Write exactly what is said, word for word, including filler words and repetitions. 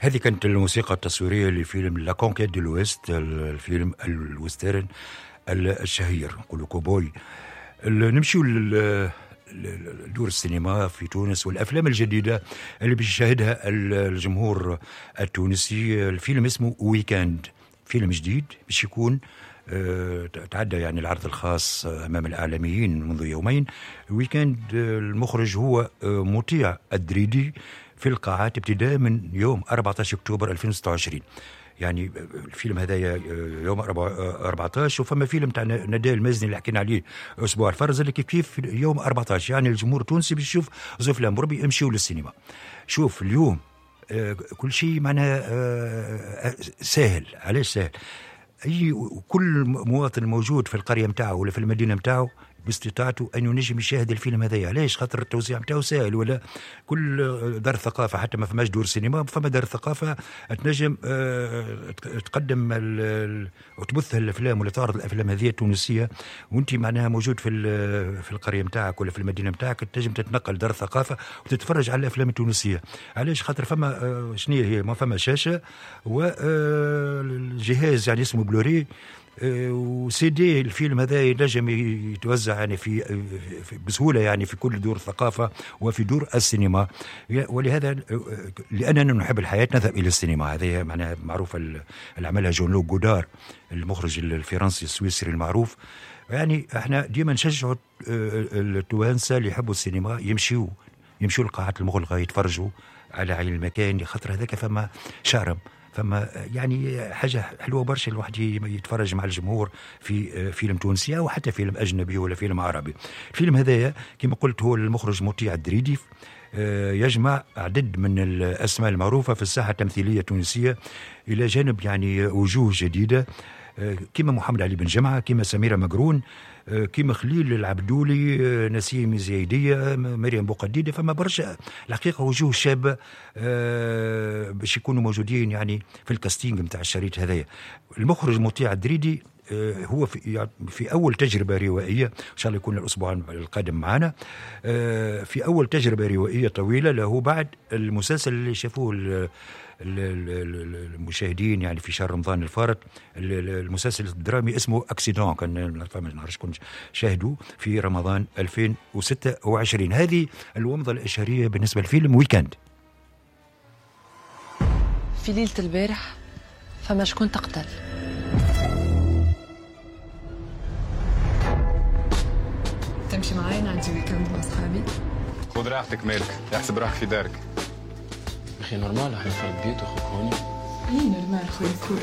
هذه كانت الموسيقى التصويرية لفيلم La Conquête de l'Ouest، الفيلم ال western الشهير، نقولوا كوبوي. نمشيو لدور السينما في تونس والافلام الجديدة اللي باش يشاهدها الجمهور التونسي. الفيلم اسمه Week-end، فيلم جديد باش يكون تعدى يعني العرض الخاص امام الاعلاميين منذ يومين. Week-end المخرج هو مطيع الدريدي، في القاعات ابتداء من يوم أربعة عشر اكتوبر ألفين وستة وعشرين. يعني الفيلم هذا يوم أربعة عشر، وفما فيلم تاع نداء المازني اللي حكينا عليه اسبوع الفرز اللي كيف كيف يوم أربعة عشر. يعني الجمهور التونسي باش يشوف زوج افلام بربي امشيوا للسينما. شوف اليوم كل شيء معناها ساهل. علاش ساهل؟ اي كل مواطن موجود في القرية نتاعو ولا في المدينة نتاعو باستطاعته ان ينجم يشاهد الفيلم هذايا. علاش؟ خاطر التوزيع نتاعو ساهل، ولا كل دار ثقافة، حتى ما فماش دور سينما فما دار ثقافة تنجم تقدم وتبث الافلام ولا تعرض الافلام هذه التونسية، وانت معناها موجود في في القرية نتاعك ولا في المدينة نتاعك تنجم تتنقل دار ثقافة وتتفرج على الافلام التونسية. علاش؟ خاطر فما شنو هي، ما فما شاشة والجهاز يعني اسمه بلوري وسي دي. الفيلم هذا ينجم يتوزع يعني في, في بسهولة يعني في كل دور الثقافة وفي دور السينما. ولهذا لاننا نحب الحياة نذهب الى السينما. هذه معناها معروفة اللي عملها جون لوك غودار المخرج الفرنسي السويسري المعروف. يعني احنا ديما نشجعوا التوانسة اللي يحبوا السينما يمشيوا يمشوا للقاعات المغلقة يتفرجوا على عين المكان، خاطر هذاك فما شارم، فما يعني حاجة حلوة برشا الواحد يتفرج مع الجمهور في فيلم تونسي أو حتى فيلم أجنبي ولا فيلم عربي. الفيلم هذايا كما قلت هو المخرج مطيع الدريدي، يجمع عدد من الأسماء المعروفة في الساحة التمثيلية التونسية إلى جانب يعني وجوه جديدة كما محمد علي بن جمعة، كما سميرة مقرون، كما خليل العبدولي، نسيم زايدية، مريم بوقديدة. فما برشا الحقيقة وجوه شابة باش يكونوا موجودين يعني في ال casting نتاع الشريط هذايا. المخرج مطيع الدريدي هو في, في أول تجربة روائية، إن شاء الله يكون الأسبوع القادم معنا، في أول تجربة روائية طويلة له بعد المسلسل اللي شافوه المشاهدين يعني في شهر رمضان الفارط، المسلسل الدرامي اسمه Accident، كان ما نعرفش كون شاهدوا في رمضان ألفين وستة وعشرين. هذه الومضة الإشهارية بالنسبة لفيلم Week-end. في ليلة البارح فما شكون تقتل، تمشي معايا عندي week-end مع صحابي. خذ راحتك مالك، احسب روحك في دارك. اخي normal احنا في البيت وخوك هوني. اي normal خويا cool.